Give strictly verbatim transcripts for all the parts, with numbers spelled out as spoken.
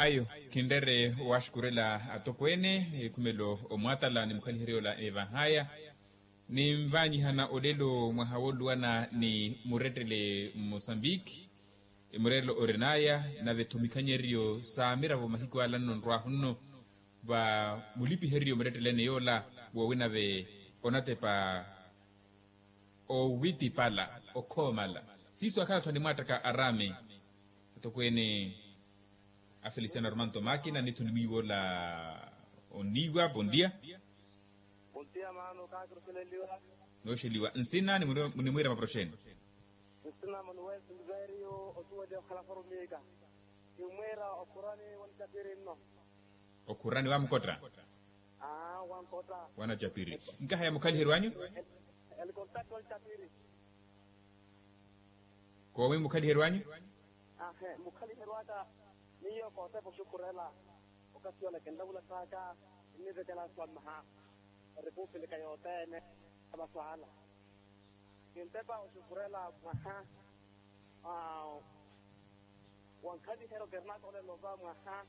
Ayo, khinrere owaxukurela atokweene ekhumelo omwatala ni mukhaliheryo ola evahaya. Ninvanyihana olelo mwaha wooluwana ni murettele mmusambiki. Murettelo orinaya nave-tho mikhanyeryo sa miravo mahiku ala nno nrwahu nno va mulipiheryo murettele ene yoola woowinave onatepa. Owitipala okhoomala siiso akhala-tho animwaattaka araame. Atokweene a felisiano armanto makina nithu nimwiiwoola. Onniiwa bondia. Bondia maano kaakirosheleliwa. Nooxeliwa nsina nimwiira maproxeni. Nsina manuwel silverio otuweliwa okhala formiika. Kimwiira okhurani wanitapiri nno. Okhurani wamukotta. Aa wankotta. Wanatapiri nkahaya mukhaliheryo anyu. Elikontati wanitapiri. Koomi mukhaliheryo anyu. Ahe mukhaliheryo aka miyo kootepa oxukhurela. Okasiwala kinlavula saaka kinnivekela swamaha erepupilika yothene. Amaswala kintepa oxukhurela mwaha. Wankhaliheryo kerinaka olelo va mwaha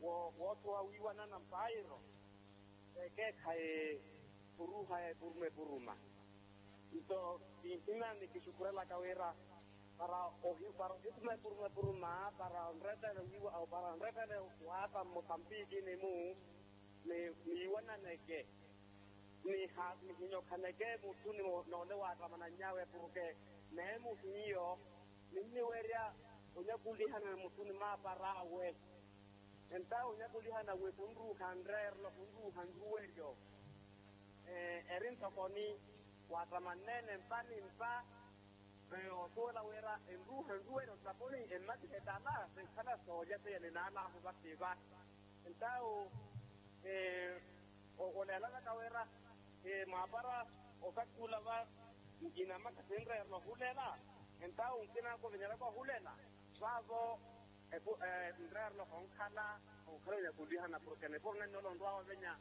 woothowa wiiwanana mpairo. Ekeekhayi puruha epuruma epuruma. Nto kinhimya nikixukhurelaka wira para ohituma epuruma epuruma para onrettele wiiwa para onrettele waata mmosampikini-mu. Niiwananeke nihinyokhaneke muttuni noole waattamanany'awe porke neemuhiyo ninniwerya onyakulihana muttuni maapar'awe. Entawe onyakulihana wi khunruuha nreerelo khunruuha nruweryo. Eri ntoko ni waattamanneene mpa ni mpa. Osuwela wira enruuha nruweryo ntaponi emmatihe tala sinkhala soolya seiya ninaalaahu vasiva. Entawe oleelanaka wira maapara okathi ula va inamakha sinreerela ohulela. Entawe nkina nkuvinyelaka ohulela vaavo nreerela ohonkhala onkhala onyakulihana porke nipuro nennoola onrwaawe ovenya.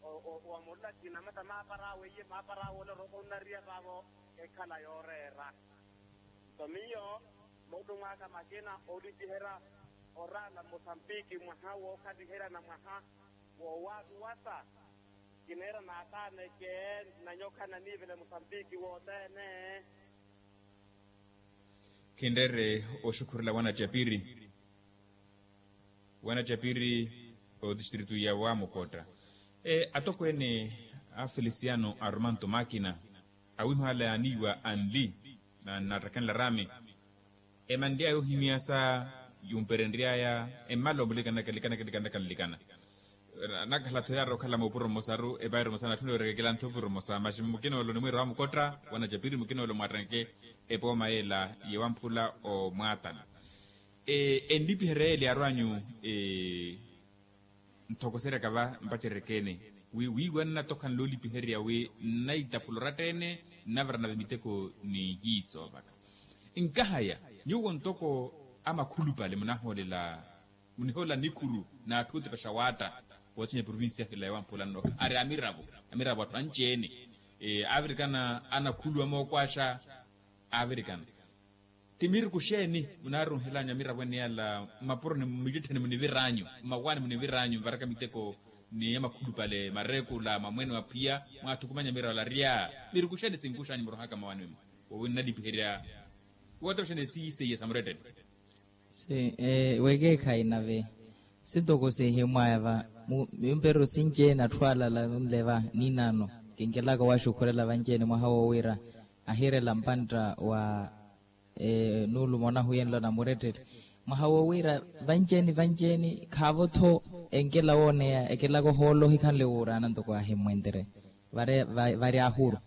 Owamorela kinamata maapara awe iye maapara awe ole oroopa onnariya vaavo. Ekhala yooreera nto miyo moolumo aka makina oolipiherya oraala mmosampiki mwaha wookhaliherya na mwaha woowaatuwasa. Kineera naataaneke nanyokha naniivele mmosampiki wothene. Khinreere oxukhurela wanacapiri wanacapiri otistritu ya wamukotta. Atokweene a felisiano arumanto makina awiiho ala yaaniiwa anli na nnaattakhenle araami. Emanly'aya ohimyasa yumperenry'aya emmala omulikanaka likanaka likanaka nlikana. Nakhala-tho yaari okhala moopuro mmosaru epairo mmosa natthuna yooreka ekela-tho opuro mmosa maxi mukina ole onimwiira wamukotta wanacapiri mukina ole omwaattanke. Epooma yeela yewamphula omwaatana enlipiherya yeela yaaru anyu. Nthokoseryaka va mpaceryekeene wi wiiwanana tokhanle olipiherya wi nnaitaphula oratta-ene nnavara nave miteko nihiiso vaka. Nkahaya nyuwo ntoko amakhulupale munahoolela munihoolela nikhuru n'atthu otepexa waatta. Woothinya provincia hila yowamphula nno ari amiravo amiravo atthu anci-ene aavirikana anakhulu amookwaxa. Aavirikana ti miriku xeeni munaaruuhelanyu amiravo ene yala mmapuroni mmicettheni munivir'anyu mmawaani munivir'anyu mvaraka miteko ni amakhulupale mareekula mamwene wa phiya mwaathukumanya amiravo ala arya. Miriku xeeni sinkux'anyu murohaka mmawaani mwimu wowi nnalipiherya wootepexa ni siiseiya sa murettele. Wekeekhayi nave sintoko sihimwaya va mimperyo sinci-ene atthu alala nle va ninaano kinkelaka owaxukhurela vanci-ene mwaha woowiira ahirela mpantta wa nuulumo nahuyenlo na murettele mwaha woowiira vanci-ene vanci-ene khaavo-tho enkela wooneya ekelaka ohoolo ohikhanle wuuraana ntoko ahimmwentere vari ahuru.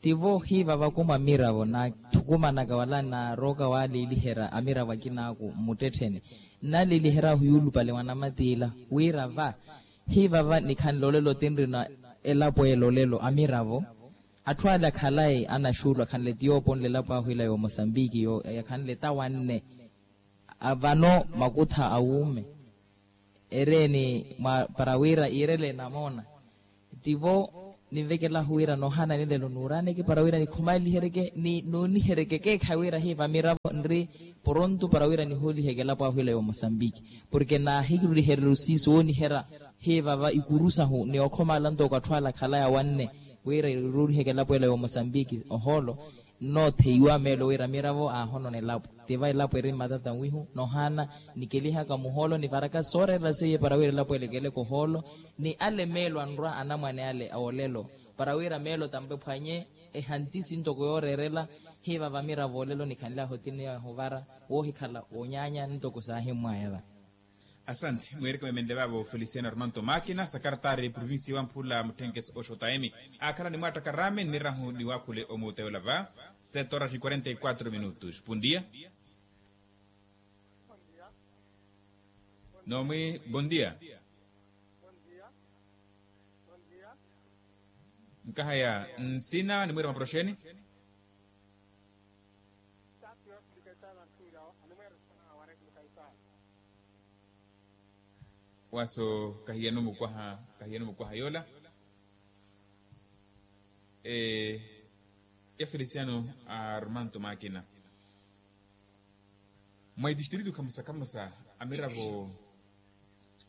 Tivo hiivava kumwa amiravo naathukumanaka wala naarooka waaliiliherya amiravo akinaaku mmuttettheni nnaliiliherya ohiyuulupale mwanamatiila wira va hiivava nikhanle olelo tinrina elapo ela olelo amiravo atthu ale akhalayi anaxuulu akhanle ti yooponle elapo ahu ila yoomosambiki yakhanle tawanne vano makutha awuume ereeni para wira iirele enamoona tivo ninvekelahu wira noohana nilelo nuuraneke para wira nikhumaliheryeke ni nuuniheryeke ekeekhayi wira hi vamiravo nri poronto para wira nihooliheke elapo ahu ila ya omosambiki. Porke naahikiruriherya osiisi wooniherya hi vava ikuru sahu ni okhomala ntoko atthu ala akhalaya wanne wira iruuriheke elapo ela ya omosambiki ohoolo. Nnootheiwa meelo wira miravo aahonona elapo. Tiva elapo eri mmatata mwihu nohana nikelihaka muhoolo nivaraka sooreerela seiye para wira elapo ela ekeleke ohoolo. Ni ale meelo anrwa anamwane ale awoolelo para wira meelo tampe phwanye ehantisi ntoko yooreerela. Hiva vamiravo olelo nikhanle ahotini ahuvara woohikhala woonyaanya ntoko saahimmwaya va. Asanti mweereke meemenle vaavo feliciano armanto makina sakartari provincia wamphula mutthenke oxotayemi. Akhala ni mwaattaka raame nnirahu niwaakhule omuuteyola va. Sete horas e quarenta e quatro minutos bon dia. Noomwi bon dia. Nkahaya nsina ni mwiira maporoxeni. Waso kahiyano mukwaha kahiyano mukwaha yoola. Ya feliciano armanto makina. Mwa itistritu khamusa khamusa amiravo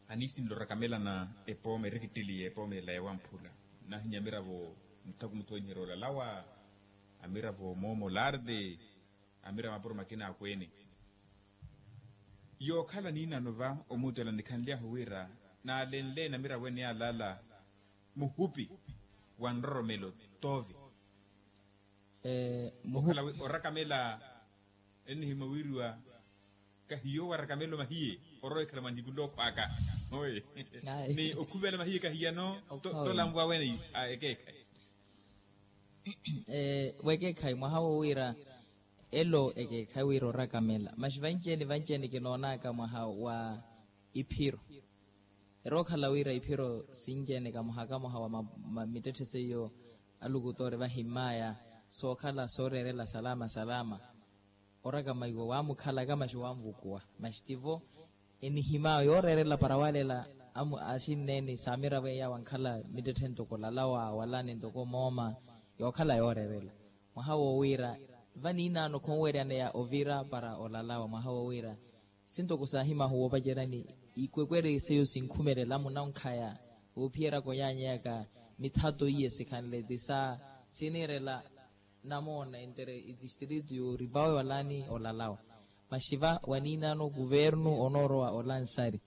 aniisinle orakamela na epooma erekitteliye epooma ela ya wamphula. Nahinya amiravo muthaku muthu ooniherya olalawa amiravo moomo larde amiravo mapuro makina akweene. Yookhala niinaano va omuuttela nikhanly'ahu wira naalenle namiravo ene yaalala muhupi wa nroromelo toovi. Muhupi okhala wi orakamela ennihimya wiiriwa kahiyo warakamelo mahiye orowa ekhala mwa nihiku nlookhwaaka. Ni okhuvela mahiye kahiyano tolanvwa wene ekeekhayi. Wekeekhayi mwaha wo wira elo ekeekhayi wira orakamela maxi vanci-eni vanci-eni kinoonaka mwaha wa iphiro. Erookhala wira iphiro sinci-eni kamoha kamoha wa mittetthe seiyo alukutoori vahimmaya sookhala sooreerela salama salama. Orakamaiwa waamukhalaka maxi waanvukuwa maxi tivo enihimaya yooreerela para waalela amu axinneeni saamiravo eya wankhala mittetthe ntoko olalawa walani ntoko mooma yookhala yooreerela. Mwaha woowiira vaniinaano khonweryaneya ovira para olalawa mwaha woowiira sintoko saahimahu woopacerani ikwekwerye seiyo sinkhumelela munankhaya woophiyerya konyaanyeyaka mithato iye sikhanle ti sa siniirela namoona entere itistritu yooripawe walani olalawa. Maxiva waniinaano kuvernu onoorowa olansari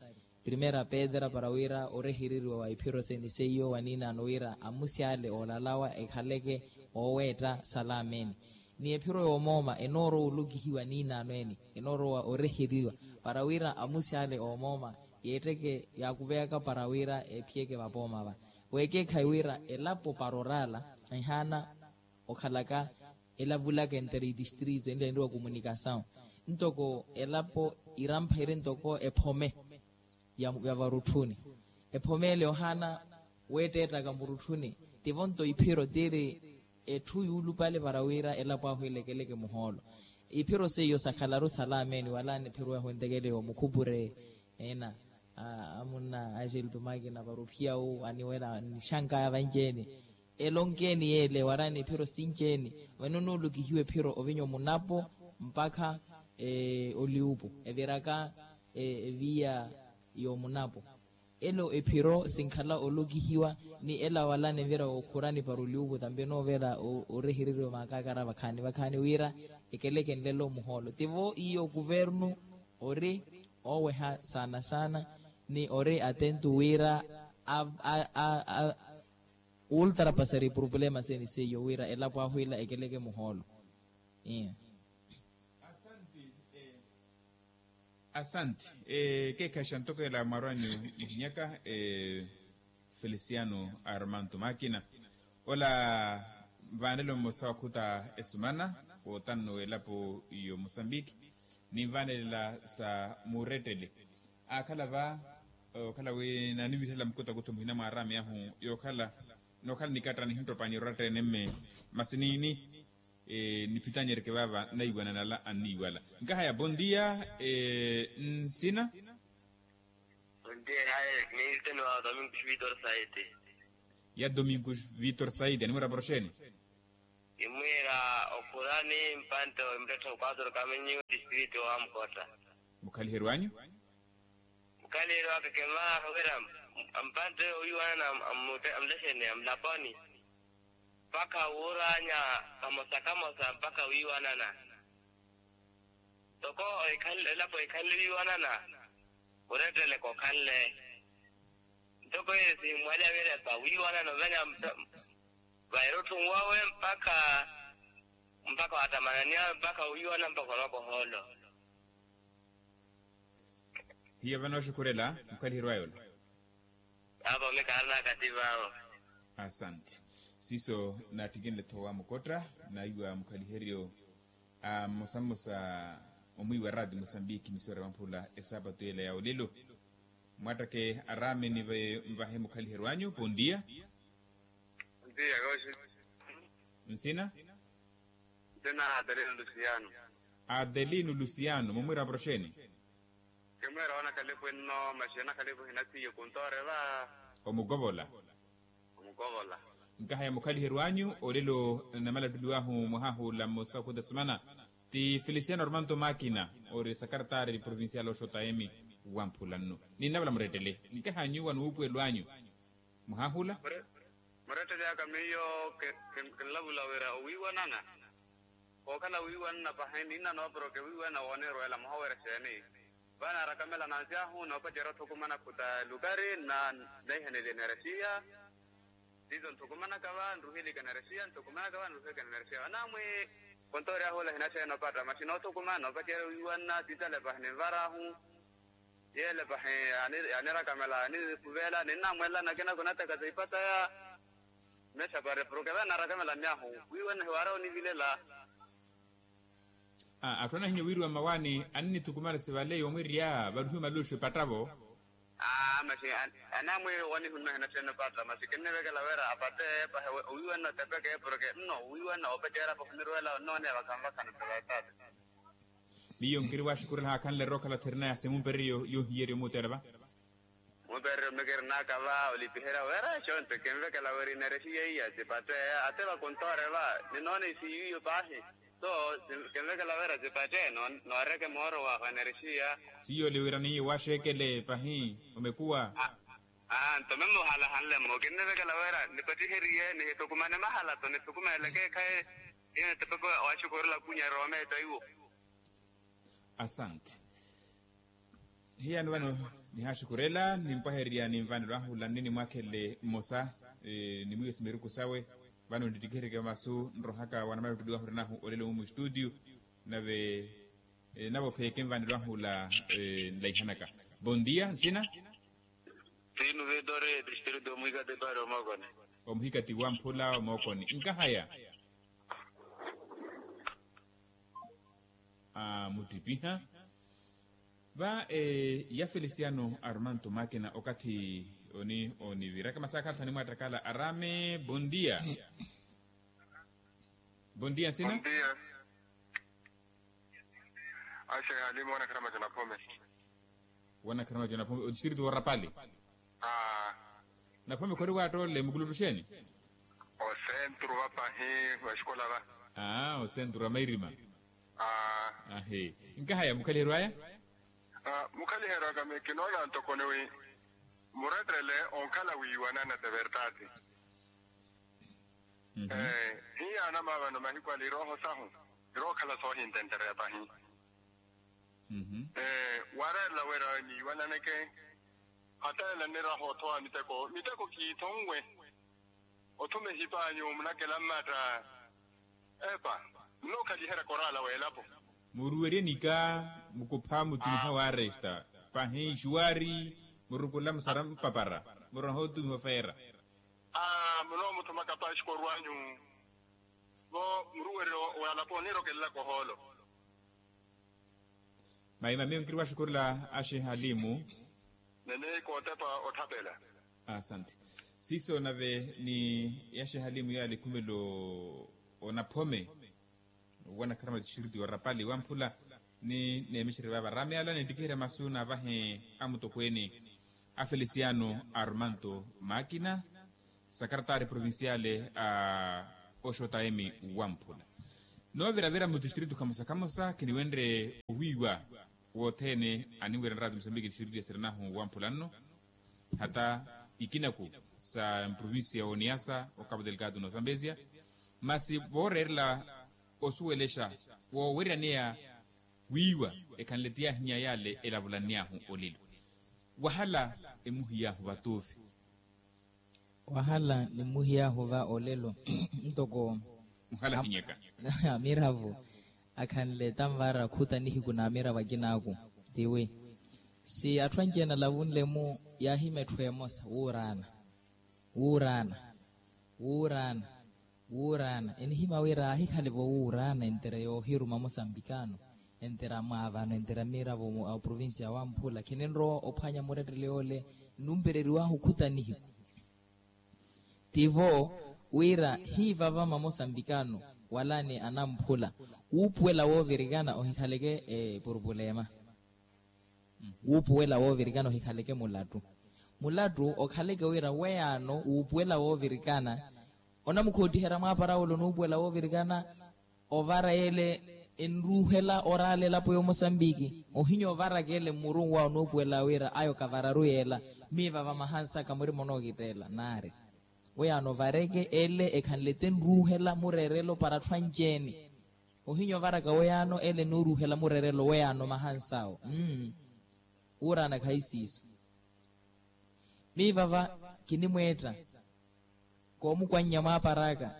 primera pedra para wira orehereriwa wa iphiro seni seiyo waniinaano wira amusi ale oolalawa ekhaleke ooweetta salameni. Ni ephiro yoomooma enoorowa olokihiwa niinaano eni enoorowa oreheriwa para wira amusi ale oomooma yeetteke yaakuveyaka para wira ephiyeke vapooma va. Weekeekhayi wira elapo para oraala ehaana okhalaka elavulaka entere itistritu enla enriwa komunikasawu ntoko elapo irampha iri ntoko ephome ya varutthuni. Ephome ele ohana weetteettaka murutthuni tivo nto iphiro tiri etthu yuulupale para wira elapo ahu elekeleke muhoolo. Iphiro seiyo sakhalaru salameni wala niphiro yahu entekele yoomukhupure ena amunna axeltumakina para ophiya wu aniwela nixankaya vanci-eni. Elonkeni yeele warani ephiro sinci-eni vano noolukihiwa ephiro ovinya omunapo mpakha oliupu eviraka eviya yoomunapo. Elo ephiro sinkhala olokihiwa ni ela wala nivira wookhurani para oliupu tampi enoovela orehereriwa maakakara vakhaani vakhaani wira ekeleke nlelo muhoolo tivo iyo kuvernu ori ooweha saana saana ni ori atento wira a a a a ultrapasari purupulema seni seiyo wira elapo ahu ila ekeleke muhoolo. Asanti. Ekeekhaxa ntoko ela mwarwani muhinyaka feliciano armanto makina ola vaanelo mmosa wakhuta esumana wootanno w'elapo y'omosambiki. Ninvaanelela sa murettele aakhala va okhala wi naanivirihela mukutakutho muhina mwaaraami ahu yookhala nookhala nikatta nihinttopani oratta ene mme masi niini. Niphitanyereke vaava naiwana nala anniiwala. Nkahaya bon dia. Nsina. Bon dia hayi. Niirite ni waava domingo xvitor saete. Ya domingo vitor saidi animwira poroxeni. Nimwira okhurani mpantte wa mttetthe wa kwatro kaminyu district wa mukhotta. Mukhaliheryo anyu? Mukhaliheryo aka kimaha wira mpantte owiiwanana amulexeni amulaponi mpakha wuuranya kamosa kamosa mpakha wiiwanana. Ntoko elapo ekhanle wiiwanana murettele kokhanle. Ntoko eyo simmwaliya wira epawiiwanana ovenya vairutthunwawe mpakha mpakha wattamananiyawe mpakha wiiwanana mpakha onooka ohoolo. Hiyo vanooxukhurela mukhaliheryo ayola. Apo mikaari naakati vaavo. Asante. Siiso naattikinle-tho wa mukotta naiwa mukhaliheryo a mmosa mmosa omwiiwa raati musambiki misiwari wamphula esaapatu yeela ya olelo. Mwattakhe araame nive mvahe mukhaliheryo anyu pondiya. Nsina? Nsina adelino lusiano. Adelino lusiano mumwira poroxeni? Kimwira wanakhalipu enno masi anakhalipu hinasiye kuntoore va. Omukovola. Omukovola. Nkahaya mukhaliheryo anyu olelo namalattuliwahu mwahahu ola mmosa okhuta semana ti felisiano armanto makina ori sakartaari provincial oxota emi wamphula nnu ninnavala murettele nkaha nyuwa nuupuwelo anyu. Mwahahu ola. Murettele aka miyo kinlavula wira owiiwanana. Kookhala wiiwanana pahi ninnanowa porke wiiwanana woonirweela muhawerya xeeni? Vano arakamela nansi ahu noopacerya othukumana khuta lukari nna neiheneliye enerexiya. Siiso nthukumanaka va nruhilika enerexiya nthukumanaka va nruhilika enerexiya vanaamwi. Kontoori ahu ola hinaxeeni opatta masi noothukumana noopacerya wiiwanana siitale pahi ninvar'ahu. Yeele pahi yaanirakamela yaanikhuvela ninnamwelela nakina khunattheka siipataya. Mesa pari porke vano naarakamela nni ahu wiiwanana hiwaarya onivilela. Atthu anahinya owiiriwa mmawaani annithukumana sivale yoomwirya varuhiwe maluxu epatta-vo. Masi anaamwi wanihunna hinaxeeni epatta masi kinnivekela wira apate pahi owiiwanana otepeke porke nno owiiwanana oopacerya pahi onirweela onnooneya vakhanvakhana ntavataata. Miyo nkiri waxukurela haakhanle rookhala therinaya simumpereryo yoohiyerya omuuteela va. Mumpereryo mmikirinaka va olipiherya wira xonte kinvekela wira enerexiya iya tipatte ate vakuntoore va. Ninoona isiyiyo paahi so kinvekela wira tipatte nooreke mooro wahu enerexiya. Siyo oliwira niiye waxeekele pahi omekuwa. Aa nto meme ohalahanle mmo kinnivekela wira nipattiheriye nihithukumane mahala-tho nithukumaneleke ekhayi. Iyo nitepeke waxukurela kunya roome taiwo. Asante. Hiyano vano nihaxukurela nimpwahererya ninvanelo ahula nni nimwakhelele mmosa. Nimwiwe simeruku sawe vano ntittikihereke masu nrohaka wanamala ottuliwa ahurinahu olelo mu mustudio. Nave navo pheeke nvanelo ahula nlaihanaka. Bondia nsina. Tinu vitori distritu omuhikati pari omookoni. Omuhikati wamphula omookoni nkahaya. Muttipiha va ya felisiano arumanto makina okathi oni oniviraka masaakha athu animwattakala araame bondia. Bondia nsina. Bondia. Axe halimu wanakharamaco naphome. Wanakharamaco naphome odistritu wa rapali. Naphome khori waattoolele mukuluttu xeeni? Osentru vapahi vaxikola va. Aa osentru wa mairima. Ahi. Nkahaya mukhaliheryo aya. Mukhaliheryo aka mi kinoona ntoko ni wi murettele onkhala wiiwanana ti vertati. Hiyaana maavano mahiku ale irooho sahu irookhala soohintentereya pahi. Wareerela wira niiwananeke. Hateela nniraha othowa miteko miteko kiithonwe. Othuma ehipanyu munakela mmatta. Epa nnookhaliherya koraala w'elapo. Muruwerye nika mukupha mutumiha waresta pahi nxuwari murukula musara mpapara muraha otumiha ofeera. Aa munoomuthumaka paxi korwanyu vo muruwerye w'alapo oniirokelelaka ohoolo. Maima miyo nkiri waxukurela axehalimu. Nene kootepa otthapela. Asante. Siiso nave ni yaxehalimu yaali khumelo onaphome owanakharama tixiriti orapali wamphula ni neemexerye vaava rameala nittikiherya masu naavahe amutokweene a felisiano armanto makina. Sakaratari provinciale a oxotayemi wamphula nooviravira mutistritu khamosa khamosa khiniwenre owiiwa wothene aniwira nrati musambiki tistritu ya sirinahu wamphula nno hata ikinaku sa mprovincia oniyasa okapu delikatu nosambesia masi vooreerela osuwelexa woowiryaneya wiiwa ekhanle ti yahinya yale elavulanny'ahu olelo wahala emuhiy'ahu vatuuvi. Wahala nimuhiy'ahu va olelo ntoko muhala hinyeka amiravo akhanle tanvara khuta nihiku na amiravo akinaaku tiwi si atthu anci-ene alavunle-mu yaahima etthu emosa wuuraana wuuraana wuuraana wuuraana enihima wira aahikhale-vo wuuraana entera yoohiruma musambikano entera mwaavano entera miravo a oprovincia wamphula khininrowa ophwanya murettele yoole nnumpereriwahu khuta nihiku tivo wira hiivava mamosambikano wala ni anamphula wuupuwela woovirikana ohikhaleke epurupulema wuupuwela woovirikana ohikhaleke mulattu mulattu okhaleke wira weyaano wuupuwela woovirikana onamukhoottiherya mwaapara wula onuupuwela woovirikana ovara yeele enruuhela oraala elapo y'omosambiki ohinya ovaraka ele mmurunwa onuupuwela wira ayo kavararu yeela miivava mahansaka murima onookitteela naari weyaano ovareke ele ekhanle tenruuhela mureerelo para atthu anci-ene ohinya ovaraka weyaano ele enooruuhela mureerelo weyaano mahansaawo wuuraana khahi siiso miivava kinimweetta koomukwannya mwaapar'aka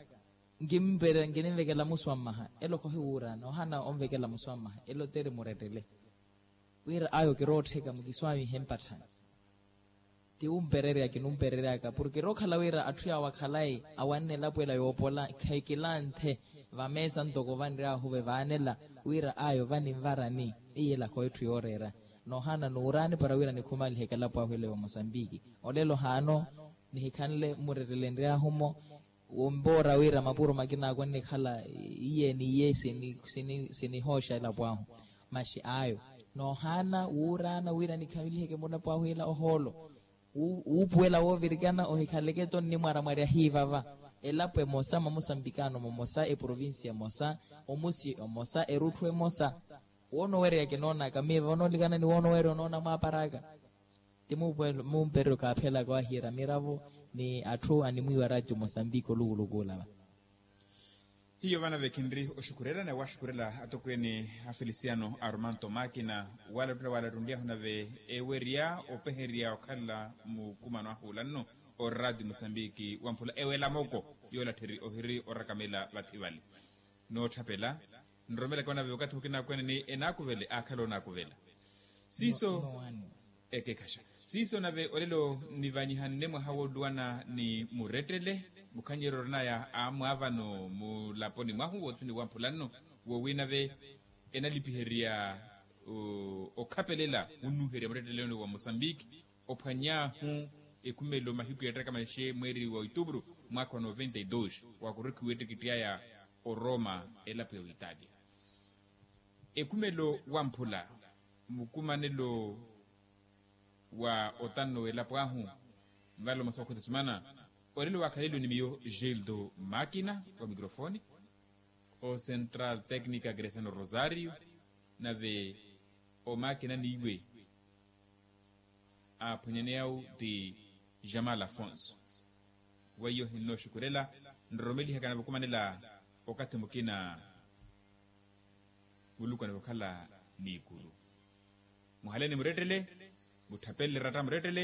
nkinimvekela muswammaha elo khohi wuuraana ohana onvekela muswammaha elo teri murettele wira ayo kiroottheka mukiswaamihe mpatthani ti wumpererya kinumperery'aka porke rookhala wira atthu yaawo akhalayi awanne elapo ela yoopola khekilanthe vameesa ntoko vanry'ahu vevaanela wira ayo vaninvarani iyelakha etthu yooreera noohana nuuraani para wira nikhumaliheke elapo ahu ela yoomosambiki olelo haano nihikhanle mmurettelenry'ahu-mo wompoora wira mapuro makinaakwa nnikhala iye n'iye sinihooxa elapo ahu maxi ayo noohaana wuuraana wira nikhamiliheke mulapo ahu ila ohoolo wuupuwela woovirikana ohikhaleke to nnimwaramwarya hiivava elapo emosa mamosambikano momosa eprovincia emosa omusi omosa erutthu emosa woona owereya kinoonaka miiva onoolikana ni woona owereya onoona mwaapar'aka ti mumpereryo kaaphelaka wahiira miravo ni atthu animwiiwa ratio mosambiki olukuluku olava hiyo vana vekhinri oxukhurela na waaxukhurela atokweene a felisiano arumanto maakina waalattula waalattunly'ahu nave ewerya opeherya okhala mukumano ahu olanno orati musambiki wamphula ewelamoko yoolattheri ohiri orakamela vathi vale nootthapela nromelaka onave okathi mukina akweene ni enaakuvele aakhala onaakuvela siiso ekekhaxa siiso nave olelo nivanyihane mwaha wooluwana ni murettele mukhanyeryo orinaya amwaavano mulaponi mwahu wothini wamphulanno wowi nave enalipiherya okhapelela wunnuherya muretteleni wa mosambiki ophwany'ahu ekhumelo mahiku yattaka manxe mweeri wa itupuru mwaakha wa noventa y dos wakurukhiwa ettikitthi aya oroma elapo ya oitalia ekhumelo wamphula mukumanelo wa otanno w'elapo ahu nvale omasowa khutesumana olelo waakhaleliwe ni miyo gildo makina wa microfone o central tecnica greciano rosario nave omakina n'iwe aaphwanyaneya-u ti jamal afonso weiyo hinnooxukulela nroromelihaka navukumanela okathi mukina muluku anavokhala n'ikuru muhale ni murettele mutthapelele eratta murettele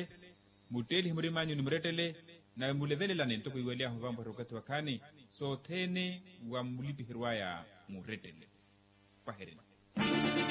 mutteelihe murimanyu ni murettele nave mulevelelane ntoko iwelyahu vampwarya okathi wakhaani sothene wa mulipiheryo aya murettele pahereni